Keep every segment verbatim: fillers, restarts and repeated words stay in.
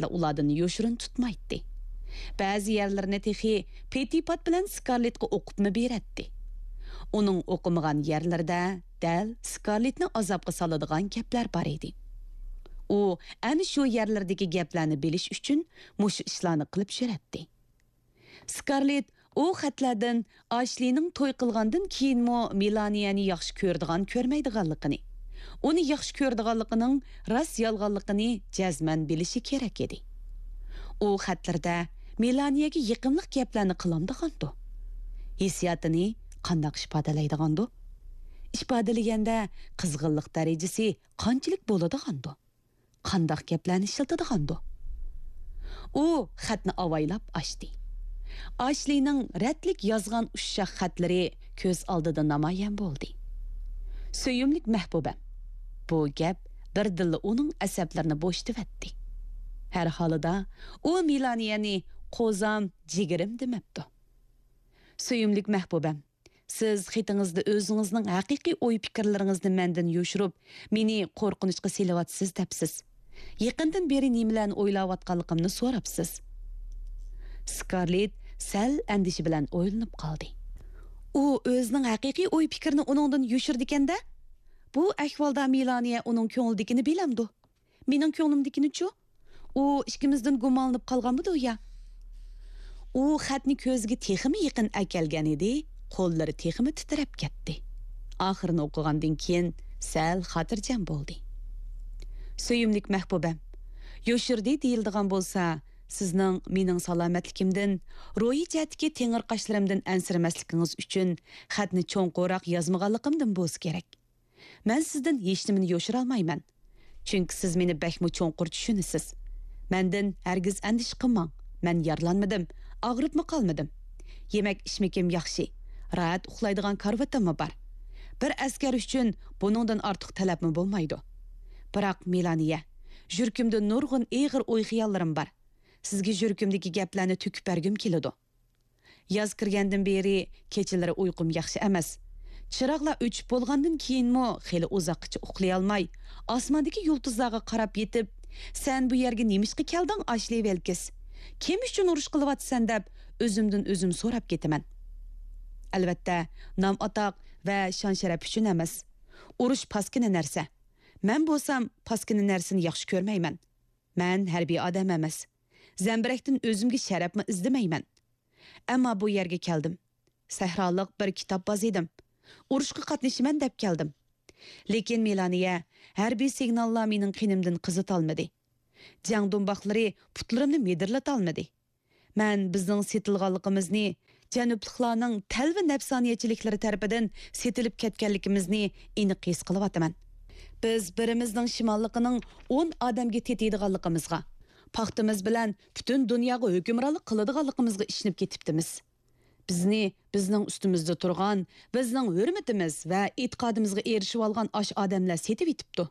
خەتلەر ئۇلاردىن يوشۇرۇن تۇتمايتتى. بەزى يەرلىرىنى تېخى پېتىپات بىلەن سكارلېتقا ئوقۇپمۇ بېرەتتى. ئۇنىڭ ئوقۇمىغان يەرلىرىدە دەل سكارلېتنى ئازابقا سالىدىغان گەپلەر بار ئىدى. ئۇ ئەنە شۇ يەرلەردىكى گەپلەرنى بىلىش ئۈچۈن مۇشۇ ئىشلارنى قىلىپ يۈرەتتى. سكارلېت ئۇ خەتلەردىن ئاشلىنىڭ توي قىلغاندىن كېيىنمۇ مېلانىيەنى ياخشى كۆرىدىغان، كۆرمەيدىغانلىقىنى، ئۇنى ياخشى كۆرىدىغانلىقىنىڭ راست يالغانلىقىنى جەزمەن بىلىشى كېرەك ئىدى. ئۇ خەتلىرىدە مېلانىيەگە يېقىملىق گەپلەرنى قىلامدىغاندۇ؟ ھېسسىياتىنى قانداق ئىپادىلەيدىغاندۇ؟ ئىپادىلىگەندە قىزغىنلىق دەرىجىسى قانچىلىك بولىدىغاندۇ؟ قانداق گەپلەرنى ئىشلىتىدىغاندۇ؟ ئۇ خەتنى ئاۋايلاپ ئاچتى. ئاشلىنىڭ رەتلىك يازغان ئۇششاق خەتلىرى كۆز ئالدىدا نامايان بولدى. سۆيۈملۈك مەھبۇبەم. بۇ گەپ بىردىنلا ئۇنىڭ ئەسەبلىرىنى بوشىتىۋەتتى. ھەر ھالىدا ئۇ مېلانىيەنى قوزام، جىگىرىم دېمەپتۇ. سۆيۈملۈك مەھبۇبەم، سىز خېتىڭىزدە ئۆزىڭىزنىڭ ھەقىقىي ئوي-پىكىرلىرىڭىزنى مەندىن يوشۇرۇپ، مېنى قورقۇنچقا سېلىۋاتىسىز دەپسىز. يېقىندىن بېرى نېمىلەرنى ئويلاۋاتقانلىقىمنى سوراپسىز. سكارلېت سەل ئەندىشە بىلەن ئويلىنىپ قالدى. ئۇ ئۆزىنىڭ ھەقىقىي ئوي-پىكرىنى ئۇنىڭدىن يوشۇرىدىكەن-دە؟ بۇ ئەھۋالدا مېلانىيە ئۇنىڭ كۆڭلىدىكىنى بىلەمدۇ؟ مېنىڭ كۆڭلۈمدىكىنىچۇ؟ ئۇ ئىككىمىزدىن گۇمانلىنىپ قالغانمىدۇ يا؟ ئۇ خەتنى كۆزىگە تېخىمۇ يېقىن ئەكەلگەن ئىدى، قوللىرى تېخىمۇ تىترەپ كەتتى. ئاخىرىنى ئوقۇغاندىن كېيىن سەل خاتىرجەم بولدى. سۆيۈملۈك مەھبۇبەم، يوشۇردى دېيىلىدىغان بولسا، سىزنىڭ مېنىڭ سالامەتلىكىمدىن، روھىي جەھەتتىكى تېڭىرقاشلىرىمدىن ئەنسىرىمەسلىكىڭىز ئۈچۈن خەتنى چوڭقۇراق يازمىغانلىقىمدىن بولسا كېرەك. مەن سىزدىن ھېچنېمىنى يوشۇرالمايمەن. چۈنكى سىز مېنى بەكمۇ چوڭقۇر چۈشىنىسىز. مەندىن ھەرگىز ئەندىشە قىلماڭ. مەن يارىلانمىدىم، ئاغرىپمۇ قالمىدىم. يېمەك-ئىچمىكىم ياخشى، راھەت ئۇخلايدىغان كارىۋىتىممۇ بار. بىر ئەسكەر ئۈچۈن بۇنىڭدىن ئارتۇق تەلەپمۇ بولمايدۇ. بىراق، مېلانىيە، يۈرىكىمدە نۇرغۇن ئېغىر ئوي-خىياللىرىم بار. سىزگە يۈرىكىمدىكى گەپلەرنى تۆكۈپ بەرگۈم كېلىدۇ. ياز كىرگەندىن بېرى كېچىلىرى ئۇيقۇم ياخشى ئەمەس. چىراغلار ئۆچۈپ بولغاندىن كېيىنمۇ خېلى ئۇزاققىچە ئۇخلىيالماي، ئاسماندىكى يۇلتۇزلارغا قاراپ يېتىپ، «سەن بۇ يەرگە نېمىشقا كەلدىڭ، ئاشلى ۋىلكىس؟ كىم ئۈچۈن ئۇرۇش قىلىۋاتىسەن؟» دەپ ئۆزۈمدىن ئۆزۈم سوراپ كېتىمەن. ئەلۋەتتە، نام-ئاتاق ۋە شان-شەرەپ ئۈچۈن ئەمەس. ئۇرۇش پاسكىنا نەرسە. مەن بولسام پاسكىنا نەرسىنى ياخشى كۆرمەيمەن. مەن ھەربىي ئادەم ئەمەس. زەمبىرەكتىن ئۆزۈمگە شەرەپمۇ ئىزدىمەيمەن. ئەمما بۇ يەرگە كەلدىم. سەھرالىق بىر كىتاب بازىدىم. ئۇرۇشقا قاتنىشىمەن دەپ كەلدىم. لېكىن مېلانىيە، ھەربىي سىگناللار مېنىڭ قېنىمدىن قىزىتالمىدى. جەڭ دۇمباقلىرى پۇتلىرىمنى مىدىرلىتالمىدى. مەن بىزنىڭ سېتىلغانلىقىمىزنى، جەنۇبلۇقلارنىڭ تەلۋە نەپسانىيەتچىلىكلىرى تەرىپىدىن سېتىلىپ كەتكەنلىكىمىزنى ئېنىق ھېس قىلىۋاتىمەن. بىز بىرىمىزنىڭ شىماللىقىنىڭ ئون ئادەمگە تېتىيدىغانلىقىمىزغا، پاختىمىز بىلەن پۈتۈن دۇنياغا ھۆكۈمرانلىق قىلىدىغانلىقىمىزغا ئىشىنىپ كېتىپتىمىز. بىزنى بىزنىڭ ئۈستىمىزدە تۇرغان، بىزنىڭ ھۆرمىتىمىز ۋە ئېتىقادىمىزغا ئېرىشىۋالغان ئاش ئادەملەر سېتىۋېتىپتۇ.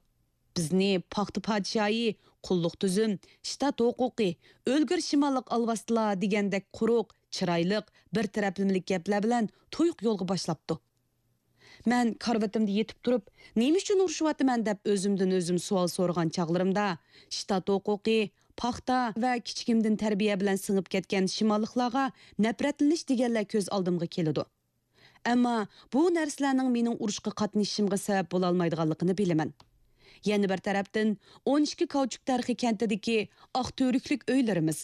بىزنى پاختا پادىشاھى، قۇللۇق تۈزۈم، شتات ھوقۇقى، ئۆلگۈر شىماللىق ئالۋاستىلار دېگەندەك قۇرۇق، چىرايلىق، بىر تەرەپلىمىلىك گەپلەر بىلەن تۇيۇق يولغا باشلاپتۇ. مەن كارىۋىتىمدا يېتىپ تۇرۇپ، «نېمە ئۈچۈن ئۇرۇشۇۋاتىمەن؟» دەپ ئۆزۈمدىن ئۆزۈم سوئال سورىغان چاغلىرىمدا، شتات ھوقۇقى، پاختا ۋە كىچىكىمدىن تەربىيە بىلەن سىڭىپ كەتكەن شىماللىقلارغا نەپرەتلىنىش دېگەنلەر كۆز ئالدىمغا كېلىدۇ. ئەمما بۇ نەرسىلەرنىڭ مېنىڭ ئۇرۇشقا قاتنىشىشىمغا سەۋەب بولالمايدىغانلىقىنى بىلىمەن. يەنە بىر تەرەپتىن، ئون ئىككى كاۋچۇك تەرخى كەنتىدىكى ئاق تۈۋرۈكلۈك ئۆيلىرىمىز،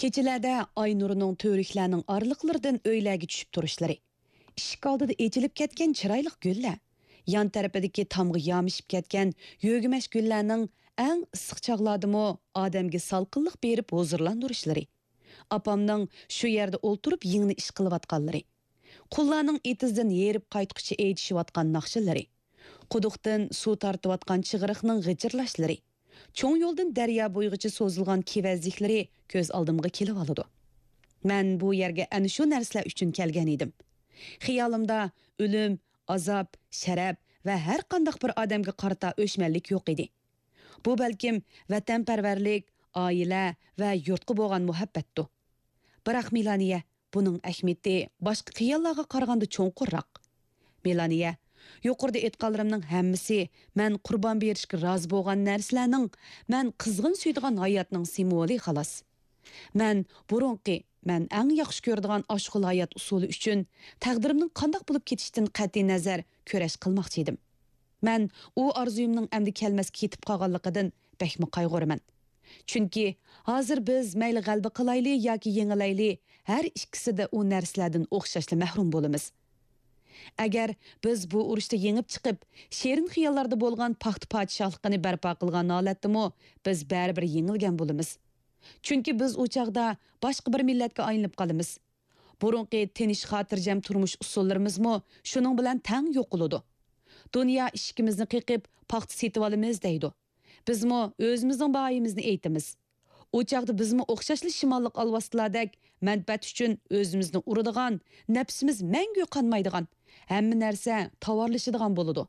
كېچىلەردە ئاي نۇرىنىڭ تۈۋرۈكلەرنىڭ ئارىلىقلىرىدىن ئۆيلەرگە چۈشۈپ تۇرۇشلىرى، ئىشىك ئالدىدا ئېچىلىپ كەتكەن چىرايلىق گۈللەر، يان تەرىپىدىكى تامغا يامىشىپ كەتكەن يۆگىمەچ گۈللەرنىڭ ئەڭ ئىسسىق چاغلاردىمۇ ئادەمگە سالقىنلىق بېرىپ ھۇزۇرلاندۇرۇشلىرى، ئاپامنىڭ شۇ يەردە ئولتۇرۇپ يىڭنە ئىش قىلىۋاتقانلىرى، قۇللارنىڭ ئېتىزدىن ھېرىپ قايتقۇچە ئېيتىشىۋاتقان ناخشىلىرى، قۇدۇقتىن سۇ تارتىۋاتقان چىغرىقنىڭ غىچىرلاشلىرى، چوڭ يولدىن دەريا بويىغىچە سوزۇلغان كېۋەزلىكلىرى كۆز ئالدىمغا كېلىۋالىدۇ. مەن بۇ يەرگە ئەنە شۇ نەرسىلەر ئۈچۈن كەلگەن ئىدىم. خىيالىمدا ئۆلۈم، ئازاب، شەرەپ ۋە ھەر قانداق بىر ئادەمگە قارىتا ئۆچمەنلىك يوق ئىدى. بۇ بەلكىم ۋەتەنپەرۋەرلىك، ئائىلە ۋە يۇرتقا بولغان مۇھەببەتتۇ. بىراق، مېلانىيە، بۇنىڭ ئەھمىيىتى باشقا خىياللارغا قارىغاندا چوڭقۇرراق. مېلانىيە، يۇقىرىدا ئېيتقانلىرىمنىڭ ھەممىسى مەن قۇربان بېرىشكە رازى بولغان نەرسىلەرنىڭ، مەن قىزغىن سۆيىدىغان ھاياتنىڭ سىمۋولى، خالاس. مەن بۇرۇنقى، مەن ئەڭ ياخشى كۆرىدىغان ئاشۇ خىل ھايات ئۇسۇلى ئۈچۈن تەقدىرىمنىڭ قانداق بولۇپ كېتىشىدىن قەتئىينەزەر كۈرەش قىلماقچى ئىدىم. مەن ئۇ ئارزۇيۇمنىڭ ئەمدى كەلمەسكە كېتىپ قالغانلىقىدىن بەكمۇ قايغۇرىمەن. چۈنكى ھازىر بىز مەيلى غەلىبە قىلايلى ياكى يېڭىلەيلى، ھەر ئىككىسىدە ئۇ نەرسىلەردىن ئوخشاشلا مەھرۇم بولىمىز. ئەگەر بىز بۇ ئۇرۇشتا يېڭىپ چىقىپ، شېرىن خىياللاردا بولغان پاختا پادىشاھلىقىنى بەرپا قىلغان ھالەتتىمۇ، بىز بەرىبىر يېڭىلگەن بولىمىز. چۈنكى بىز ئۇ چاغدا باشقا بىر مىللەتكە ئايلىنىپ قالىمىز. بۇرۇنقى تىنچ، خاتىرجەم تۇرمۇش ئۇسۇللىرىمىزمۇ شۇنىڭ بىلەن تەڭ يوقىلىدۇ. دۇنيا ئىشىكىمىزنى قېقىپ، پاختا سېتىۋالىمىز دەيدۇ. بىزمۇ ئۆزىمىزنىڭ باھايىمىزنى ئېيتىمىز. ئۇ چاغدا بىزمۇ ئوخشاشلا شىماللىق ئالۋاستىلاردەك مەنپەئەت ئۈچۈن ئۆزىمىزنى ئۇرىدىغان، نەپسىمىز مەڭگۈ قانمايدىغان، ھەممە نەرسە تاۋارلىشىدىغان بولىدۇ.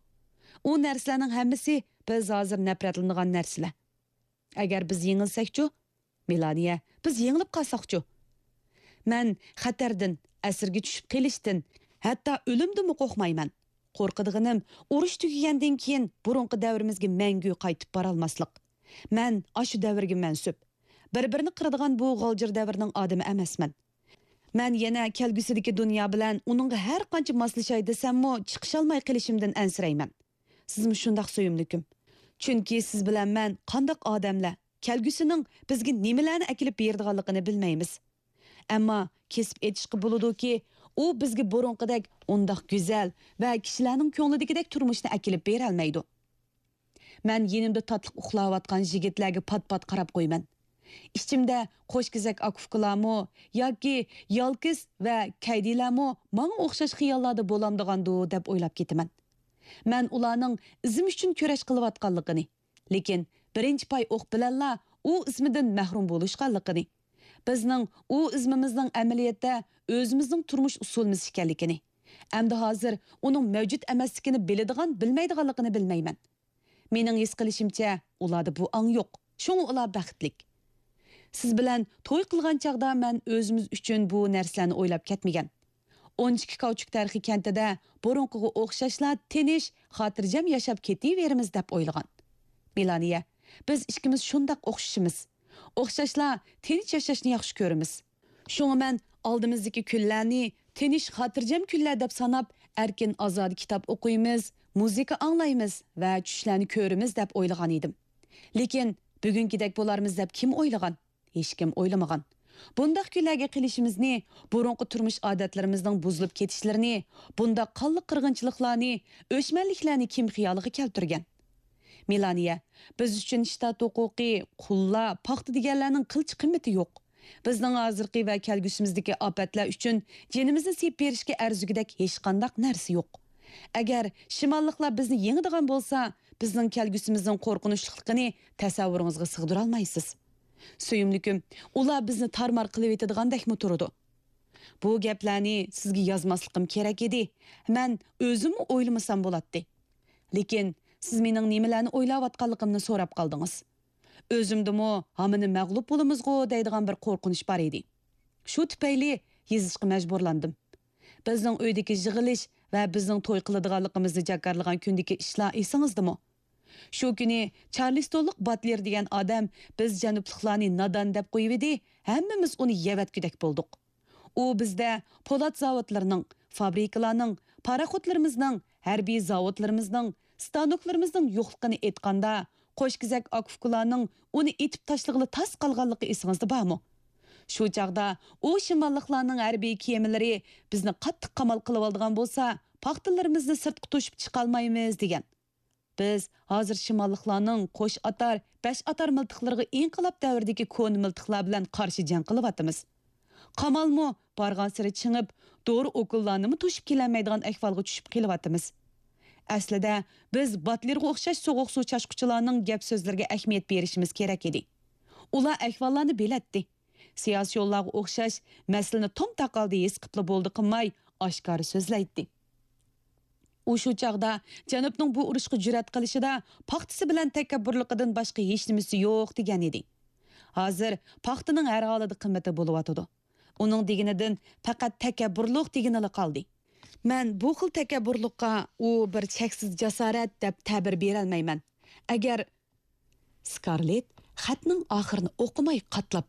ئۇ نەرسىلەرنىڭ ھەممىسى بىز ھازىر نەپرەتلىنىدىغان نەرسىلەر. ئەگەر بىز يېڭىلسەكچۇ؟ مېلانىيە، بىز يېڭىلىپ قالساقچۇ؟ مەن خەتەردىن، ئەسىرگە چۈشۈپ قېلىشتىن، ھەتتا ئۆلۈمدىنمۇ قورقمايمەن. قورقىدىغىنىم، ئۇرۇش تۈگىگەندىن كېيىن بۇرۇنقى دەۋرىمىزگە مەڭگۈ قايتىپ بارالماسلىق. مەن ئاشۇ دەۋرگە مەنسۇپ. بىر-بىرىنى قىرىدىغان بۇ غالجىر دەۋرنىڭ ئادىمى ئەمەسمەن. مەن يەنە كەلگۈسىدىكى دۇنيا بىلەن ئۇنىڭغا ھەر قانچە ماسلىشاي دېسەممۇ، چىقىشالماي قېلىشىمدىن ئەنسىرەيمەن. سىزمۇ شۇنداق، سۆيۈملۈكۈم. چۈنكى سىز بىلەن مەن قانداق ئادەملەر، كەلگۈسىنىڭ بىزگە نېمىلەرنى ئەكېلىپ بېرىدىغانلىقىنى بىلمەيمىز. ئەمما كېسىپ ئېيتىشقا بولىدۇكى، ئۇ بىزگە بۇرۇنقىدەك ئۇنداق گۈزەل ۋە كىشىلەرنىڭ كۆڭلىدىكىدەك تۇرمۇشنى ئەكېلىپ بېرەلمەيدۇ. مەن يېنىمدا تاتلىق ئۇخلاۋاتقان يىگىتلەرگە پات-پات قاراپ قويىمەن. ئىچىمدە قوشكېزەك ئاكا-ئۇكىلارمۇ ياكى يالكىس ۋە كەيدىلەرمۇ ماڭا ئوخشاش خىياللاردا بولامدىغاندۇ دەپ ئويلاپ كېتىمەن. مەن ئۇلارنىڭ ئىزىم ئۈچۈن كۈرەش قىلىۋاتقانلىقىنى، لېكىن بىرىنچى پاي ئوق بىلەنلا ئۇ ئىزمىدىن مەھرۇم بولۇشقانلىقىنى، بىزنىڭ ئۇ ئىزمىمىزنىڭ ئەمەلىيەتتە ئۆزىمىزنىڭ تۇرمۇش ئۇسۇلىمىز ئىكەنلىكىنى، ئەمدى ھازىر ئۇنىڭ مەۋجۇت ئەمەسلىكىنى بىلىدىغان، بىلمەيدىغانلىقىنى بىلمەيمەن. مېنىڭ ھېس قىلىشىمچە، ئۇلاردا بۇ ئاڭ يوق. شۇڭا ئۇلار بەختلىك. سىز بىلەن توي قىلغان چاغدا مەن ئۆزىمىز ئۈچۈن بۇ نەرسىلەرنى ئويلاپ كەتمىگەن. ئون ئىككى كاۋچۇك تەرخى كەنتىدە بۇرۇنقىغا ئوخشاشلا تىنچ، خاتىرجەم ياشاپ كېتىۋېرىمىز دەپ ئويلىغان. مېلانىيە، بىز ئىككىمىز شۇنداق ئوخشىشىمىز. ئوخشاشلا تىنچ ياشاشنى ياخشى كۆرىمىز. شۇڭا مەن ئالدىمىزدىكى كۈنلەرنى تىنچ، خاتىرجەم كۈنلەر دەپ ساناپ، ئەركىن، ئازادە كىتاب ئوقۇيمىز، مۇزىكا ئاڭلايمىز ۋە چۈشلەرنى كۆرىمىز دەپ ئويلىغان ئىدىم. لېكىن بۈگۈنكىدەك بولارمىز دەپ كىم ئويلىغان؟ ھېچكىم ئويلىمىغان. بۇنداق كۈنلەرگە قېلىشىمىزنى، بۇرۇنقى تۇرمۇش ئادەتلىرىمىزنىڭ بۇزۇلۇپ كېتىشلىرىنى، بۇنداق قانلىق قىرغىنچىلىقلارنى، ئۆچمەنلىكلەرنى كىم خىيالىغا كەلتۈرگەن؟ مېلانىيە، بىز ئۈچۈن شتات ھوقۇقى، قۇللار، پاختا دېگەنلەرنىڭ قىلچە قىممىتى يوق. بىزنىڭ ھازىرقى ۋە كەلگۈسىمىزدىكى ئاپەتلەر ئۈچۈن جېنىمىزنى سېلىپ بېرىشكە ئەرزىگۈدەك ھېچقانداق نەرسە يوق. ئەگەر شىماللىقلار بىزنى يېڭىدىغان بولسا، بىزنىڭ كەلگۈسىمىزنىڭ قورقۇنچلۇقلۇقىنى تەسەۋۋۇرىڭىزغا سىغدۇرالمايسىز. سۆيۈملۈكۈم، ئۇلار بىزنى تارمار قىلىۋېتىدىغاندەكمۇ تۇرىدۇ. بۇ گەپلەرنى سىزگە يازماسلىقىم كېرەك ئىدى. مەن ئۆزۈممۇ ئويلىمىسام بولاتتى. لېكىن سىز مېنىڭ نېمىلەرنى ئويلاۋاتقانلىقىمنى سوراپ قالدىڭىز. ئۆزۈمدىمۇ ھامىنى مەغلۇپ بولىمىزغۇ دەيدىغان بىر قورقۇنچ بار ئىدى. شۇ تۈپەيلى يېزىشقا مەجبۇرلاندىم. بىزنىڭ ئۆيدىكى يىغىلىش ۋە بىزنىڭ توي قىلىدىغانلىقىمىزنى جاكارلىغان كۈندىكى ئىشلار ئېسىڭىزدىمۇ؟ شۇ كۈنى چارلىستونلۇق باتلېر دېگەن ئادەم بىز جەنۇبلۇقلارنى نادان دەپ قويۇۋىدى، ھەممىمىز ئۇنى يەۋەتكۈدەك بولدۇق. ئۇ بىزدە پولات زاۋۇتلىرىنىڭ، فابرىكىلارنىڭ، پاراخوتلىرىمىزنىڭ، ھەربىي زاۋۇتلىرىمىزنىڭ، ستانوكلىرىمىزنىڭ يوقلۇقىنى ئېيتقاندا، قوشكېزەك ئاكا-ئۇكىلارنىڭ ئۇنى ئېتىپ تاشلىغىلى تاس قالغانلىقى ئېسىڭىزدە بارمۇ؟ شۇ چاغدا ئۇ شىماللىقلارنىڭ ھەربىي كېمىلىرى بىزنى قاتتىق قامال قىلىۋالىدىغان بولسا، پاختىلىرىمىزنى سىرتقا توشۇپ چىقالمايمىز، دېگەن. بىز ھازىر شىماللىقلارنىڭ قوش ئاتار، بەش ئاتار مىلتىقلىرىغا ئىنقىلاب دەۋرىدىكى كونا مىلتىقلار بىلەن قارشى جەڭ قىلىۋاتىمىز. قامالمۇ بارغانسېرى چىڭىپ، دورا ئوكۇللارنىمۇ توشۇپ كېلەلمەيدىغان ئەھۋالغا چۈشۈپ قېلىۋاتىمىز. ئەسلىدە بىز باتلېرغا ئوخشاش سوغۇق سۇ چاچقۇچىلارنىڭ گەپ-سۆزلىرىگە ئەھمىيەت بېرىشىمىز كېرەك ئىدى. ئۇلار ئەھۋاللارنى بىلەتتى. سىياسىيونلارغا ئوخشاش مەسىلىنى توم تاقالدا ھېس قىپلا بولدى قىلماي، ئاشكارا سۆزلەيتتى. ئۇ شۇ چاغدا جەنۇبنىڭ بۇ ئۇرۇشقا جۈرئەت قىلىشىدا پاختىسى بىلەن تەكەببۇرلۇقىدىن باشقا ھېچنېمىسى يوق دېگەن ئىدى. ھازىر پاختىنىڭ ھەر ھالدا قىممىتى بولۇۋاتىدۇ. ئۇنىڭ دېگىنىدىن پەقەت تەكەببۇرلۇق دېگىنىلا قالدى. مەن بۇ خىل تەكەببۇرلۇققا ئۇ بىر چەكسىز جاسارەت دەپ تەبىر بېرەلمەيمەن. ئەگەر، سكارلېت خەتنىڭ ئاخىرىنى ئوقۇماي قاتلاپ